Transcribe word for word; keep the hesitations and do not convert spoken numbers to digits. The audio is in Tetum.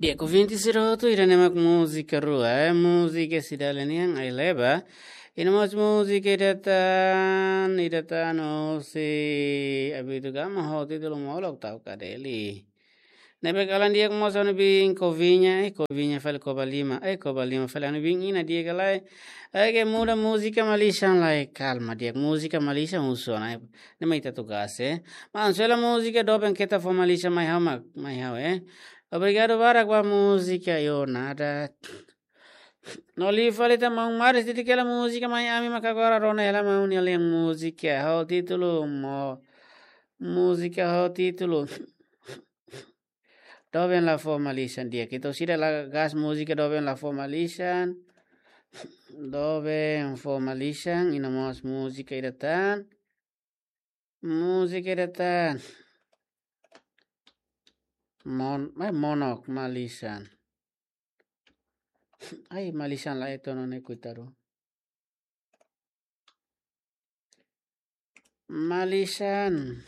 Dia ku vinte sira hotu ida ne'e mak múzika rua, eh, múzika Cidade nian, Ai Leba. I no mós múzika ida tan, ida tan hosi Abito Gama ho títulu Molok Tau Kadeli. Ne'ebé kalan di'ak mós ha'u-nia biin Kovinha, eh, Kovinha fali Koba Lima, eh, Koba Lima fali ha'u-nia biin Ina di'ak ka lae. Ai ke muda múzika malisan lai, kalma di'ak múzika malisan husu ona, eh. Ne'e mai ita tugas, eh. Maun, sela múzika doben keta fó malisan mai ha'u mak, mai ha'u, eh. Obrigadu barak ba múzika, yo nada. No liu fali tan maun Maris, titi kela múzika mai ami mak agora rona hela maun nia lian múzika. Ho títulu mo, múzika ho títulu Doben la fó malisan di'ak. Ita sira la gas múzika doben la fó malisan. Doben fó malisan, i no mós múzika ida tan. Múzika ida tan. Mon, mai Monok malisan. Ai, malisan la eto no ne kuitaru. Malisan.